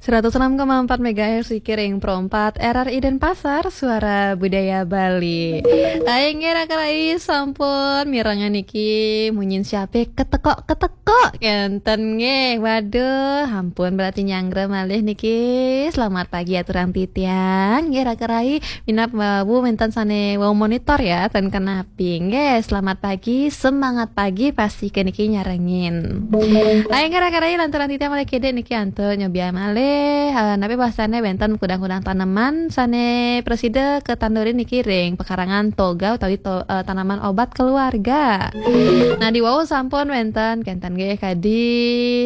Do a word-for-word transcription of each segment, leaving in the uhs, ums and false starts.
Seratus enam koma empat megahertz Sikiring Pro empat R R I Denpasar, Suara Budaya Bali. Aing nge raka rai sampun mirengan niki munyin siape keteko-keteko kenten nge. Waduh, ampun berarti nyanggra malih niki. Selamat pagi aturang titiang nge raka rai. Minap babu menten sane wau monitor ya, ten kena Pingge, selamat pagi, semangat pagi, pasti ke niki nyarengin. Ayo ngera-ngera lantaran titiang malih kede niki antuk nyobian malih, eh, napi bahasane wenten kudang-kudang taneman sane presida ketandurin niki ring pekarangan toga utawi to, eh, tanaman obat keluarga. Nah, di wau sampun wenten kenten nggih kadi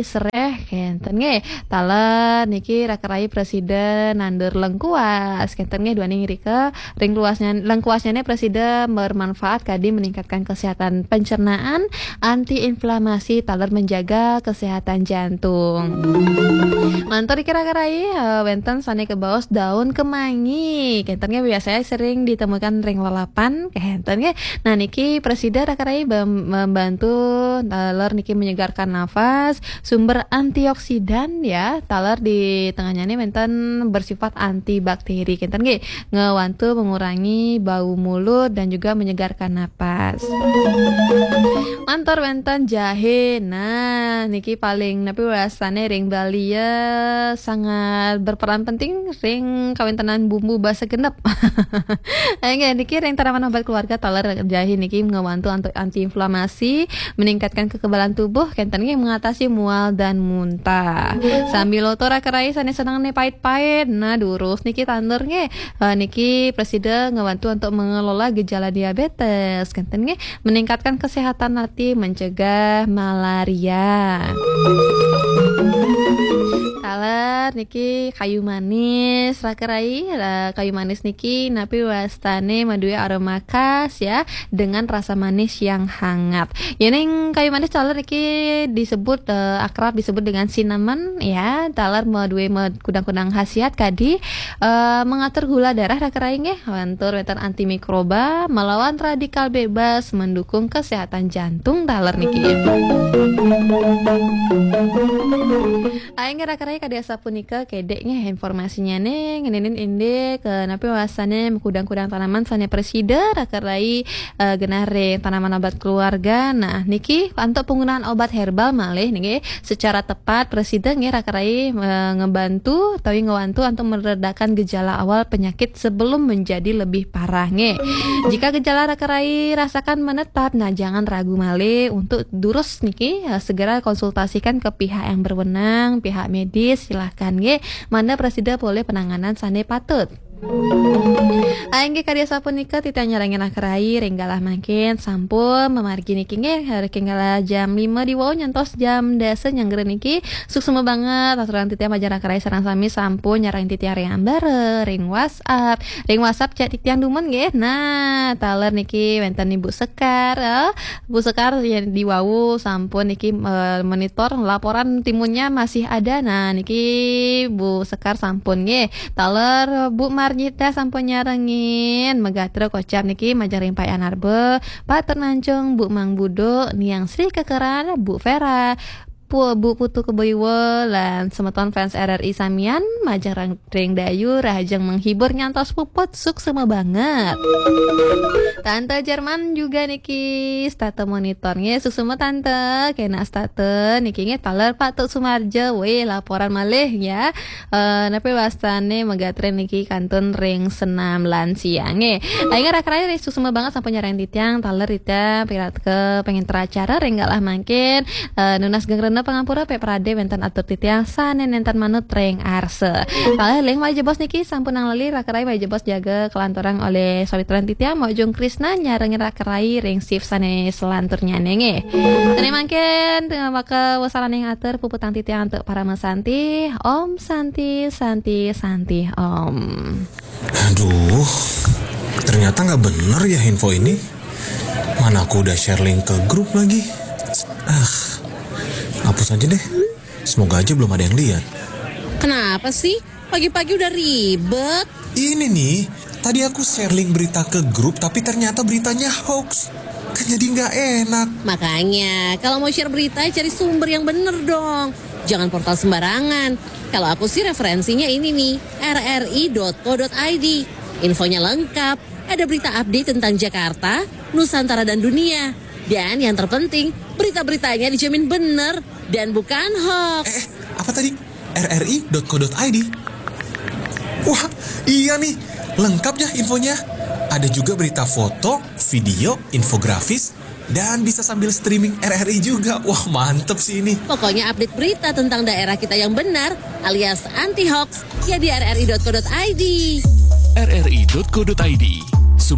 sereh kenten nggih. Taler niki raka rai presida nandur lengkuas kenten nggih duaning rika ring luasnya lengkuasnya presida bermanfaat kadi meningkatkan kesehatan pencernaan, antiinflamasi, taler menjaga kesehatan jantung. Mantur iki raka rai, eh, wenten sane kebaos daun kemangi. Kenten nggih biasanya sering ditemukan ring lalapan, kenten nggih. Nah, niki presida raka rai bem- membantu taler niki menyegarkan nafas, sumber antioksidan ya, taler di tengahnya ini wenten bersifat antibakteri. Kenten nggih, ngewantu mengurangi bau mulut dan juga menyegarkan napas. Mantor wenten jahe. Nah, niki paling napi rasane ring Bali ya sangat berperan penting ring kawentenan bumbu basa genep. Ayo nggih, niki ring tanaman obat keluarga taler jahe niki ngewantu anti antiinflamasi, meningkatkan kekebalan tubuh, kenten nggih mengatasi mual dan muntah. Sambil lotor raka rai sane seneng ne pait-pait. Nah, durus niki tandur nggih. Eh, niki presida ngewantu untuk mengelola gejala diabetes, kenten nggih, meningkatkan kesehatan hati, mencegah malaria. Taler niki kayu manis raka rai, eh, kayu manis niki napi wastane madue aroma khas ya, dengan rasa manis yang hangat. Yening kayu manis taler niki disebut, eh, akrab disebut dengan cinnamon ya, taler madue med- kudang-kudang khasiat kadi, eh, mengatur gula darah raka rai nggih, wantur wenten antimikroba, melawan radikal bebas, mendukung kesehatan jantung taler niki. Aing raka rai kadi asapunika kedek nggih informasinya ne ngeninin indik, eh, napi wasane kudang-kudang tanaman sane presida raka rai, eh, genah ring tanaman obat keluarga. Nah, niki antuk penggunaan obat herbal malih niki secara tepat presida nggih raka rai, eh, ngebantu utawi ngewantu antuk meredakan gejala awal penyakit sebelum menjadi lebih parah nggih. Jika gejala raka rai rasakan menetap, nah jangan ragu malih untuk durus niki, eh, segera konsultasikan ke pihak yang berwenang, pihak medis silahkan nggih. Mangda presida polih penanganan sane patut. Inggih kadi asapunika titiang nyarengin raka rai ring galah mangkin sampun mamargi niki nggih ring galah jam lima di wau nyantos jam dasa nyanggra niki. Suksma banget aturang titiang majeng raka rai sareng sami sampun nyarengin titiang ring ambara, ring WhatsApp, ring WhatsApp chat titiang dumun nggih. Nah, taler niki wenten Ibu Sekar, eh, Bu Sekar ya di wau sampun niki, eh, monitor laporan timunnya masih ada. Nah, niki Bu Sekar sampun nggih. Taler Bu Marnita sampun nyarengin, megatra kocap niki majeng ring Pak Anarba, Pak Ternancung, Bu Mang Budo, Niang Sri Kekeran, Bu Vera, Pu, Bu Putu Keboiwa, lan semeton fans R R I samian, majeng ring, ring Dayu, rahajeng menghibur nyantos puput, suksma banget. Tante Jerman juga niki, stata monitor nggih, suksma Tante, kena stata niki nggih, taler Pak Tuk Sumarja, weh laporan malih ya. Eh, napi wastane megatra niki kantun ring senam lansia nggih. Aing raka rai suksma banget sampun nyarengin titiang, taler titiang piratke pengenter acara ring galah mangkin, eh, nunas geng rena pangampura pe prade wenten atur titiang sane nenten manut ring arsa. Taler ling malih jebos niki sampun nang lali raka rai malih jebos jaga kelanturang olih sawitran titiang Mojung Krisna nyarengin raka rai ring shift sane selanturnyane nggih. Sane mangkin tengah maka wasaraning atur puputang titiang antuk parama santi. Om Santi, Santi, Santi, Om. Aduh, ternyata nggak bener ya info ini. Mana aku udah share link ke grup lagi. Ah, hapus aja deh. Semoga aja belum ada yang lihat. Kenapa sih? Pagi-pagi udah ribet. Ini nih, tadi aku share link berita ke grup, tapi ternyata beritanya hoax. Kan jadi nggak enak. Makanya, kalau mau share berita, cari sumber yang bener dong. Jangan portal sembarangan. Kalau aku sih referensinya ini nih, R R I dot co dot I D. Infonya lengkap, ada berita update tentang Jakarta, Nusantara dan dunia. Dan yang terpenting, berita-beritanya dijamin bener dan bukan hoax. Eh, apa tadi? R R I dot co dot I D. Wah, iya nih, lengkap ya infonya. Ada juga berita foto, video, infografis, dan bisa sambil streaming R R I juga. Wah, mantep sih ini. Pokoknya update berita tentang daerah kita yang benar alias anti hoax ya di R R I dot co dot I D. R R I dot co dot I D.